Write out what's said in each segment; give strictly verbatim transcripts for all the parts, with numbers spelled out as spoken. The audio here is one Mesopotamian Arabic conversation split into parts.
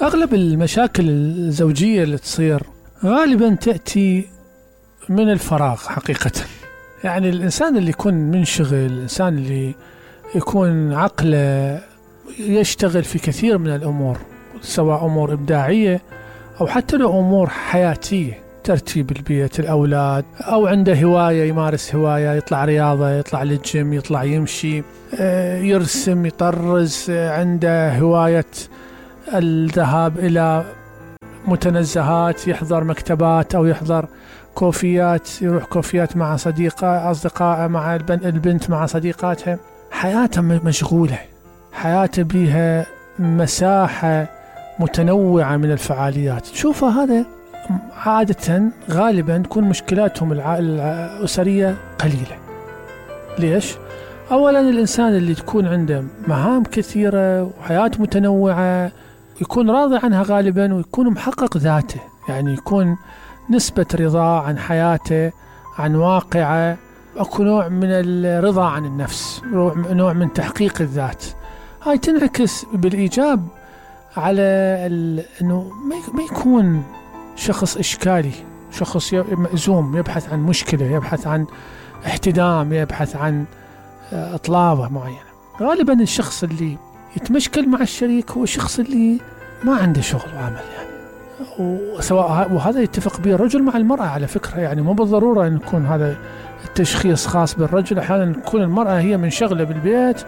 أغلب المشاكل الزوجية اللي تصير غالبا تأتي من الفراغ حقيقة. يعني الإنسان اللي يكون منشغل، الإنسان اللي يكون عقله يشتغل في كثير من الأمور، سواء أمور إبداعية أو حتى لو أمور حياتية، ترتيب البيت، الأولاد، أو عنده هواية يمارس هواية، يطلع رياضة، يطلع للجيم، يطلع يمشي، يرسم، يطرز، عنده هواية الذهاب إلى متنزهات، يحضر مكتبات أو يحضر كوفيات، يروح كوفيات مع صديقة أصدقائه، مع البنت مع صديقاتها. حياته مشغولة، حياته بها مساحة متنوعة من الفعاليات. تشوفها هذا عادة غالبا تكون مشكلاتهم الأسرية قليلة. ليش؟ أولا الإنسان اللي تكون عنده مهام كثيرة وحياة متنوعة يكون راضي عنها غالبا، ويكون محقق ذاته، يعني يكون نسبة رضا عن حياته، عن واقعه، أكو نوع من الرضا عن النفس، نوع من تحقيق الذات. هاي تنعكس بالإيجاب على أنه ما يكون شخص إشكالي، شخص مأزوم، يبحث عن مشكلة، يبحث عن احتدام، يبحث عن إطلابة معينة. غالبا الشخص اللي يتمشكل مع الشريك هو الشخص اللي ما عنده شغل وعمل، يعني وسواء وهذا يتفق به الرجل مع المرأة على فكرة، يعني مو بالضرورة أن يكون هذا التشخيص خاص بالرجل. أحيانا تكون المرأة هي منشغلة بالبيت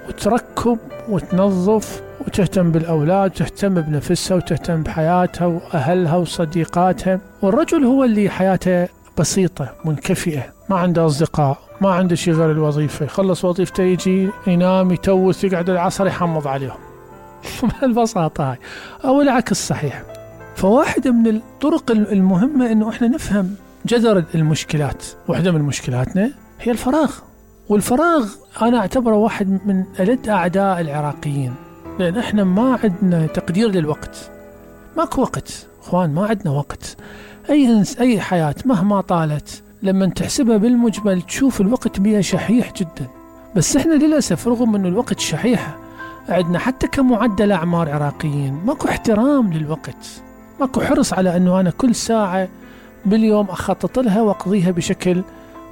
وتركب وتنظف وتهتم بالأولاد وتهتم بنفسها وتهتم بحياتها وأهلها وصديقاتها، والرجل هو اللي حياته بسيطة منكفئة، ما عنده أصدقاء، ما عنده شيء غير الوظيفة، يخلص وظيفته يجي ينام يتوث يقعد العصر يحمض عليهم بالبساطة هاي، أو العكس صحيح. فواحدة من الطرق المهمة إنه إحنا نفهم جذر المشكلات. واحدة من مشكلاتنا هي الفراغ، والفراغ أنا أعتبره واحد من ألد أعداء العراقيين، لأن إحنا ما عندنا تقدير للوقت. ماكو وقت أخوان، ما عندنا وقت. أي أي حياة مهما طالت لما تحسبها بالمجمل تشوف الوقت بها شحيح جدا، بس إحنا للأسف رغم أنه الوقت شحيح عندنا حتى كمعدل أعمار عراقيين ماكو احترام للوقت، ماكو حرص على أنه أنا كل ساعة باليوم أخطط لها وأقضيها بشكل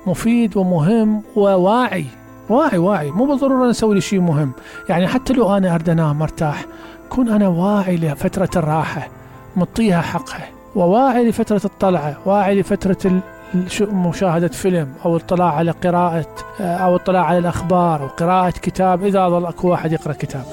مفيد ومهم وواعي. واعي واعي مو بالضرورة نسوي لي شيء مهم، يعني حتى لو أنا أريد أنام مرتاح كون أنا واعي لفترة الراحة مطيها حقها، وواعي لفترة الطلعة، واعي لفترة مشاهدة فيلم أو الاطلاع على قراءة أو الاطلاع على الأخبار أو قراءة كتاب إذا ظل أكو واحد يقرأ كتاب.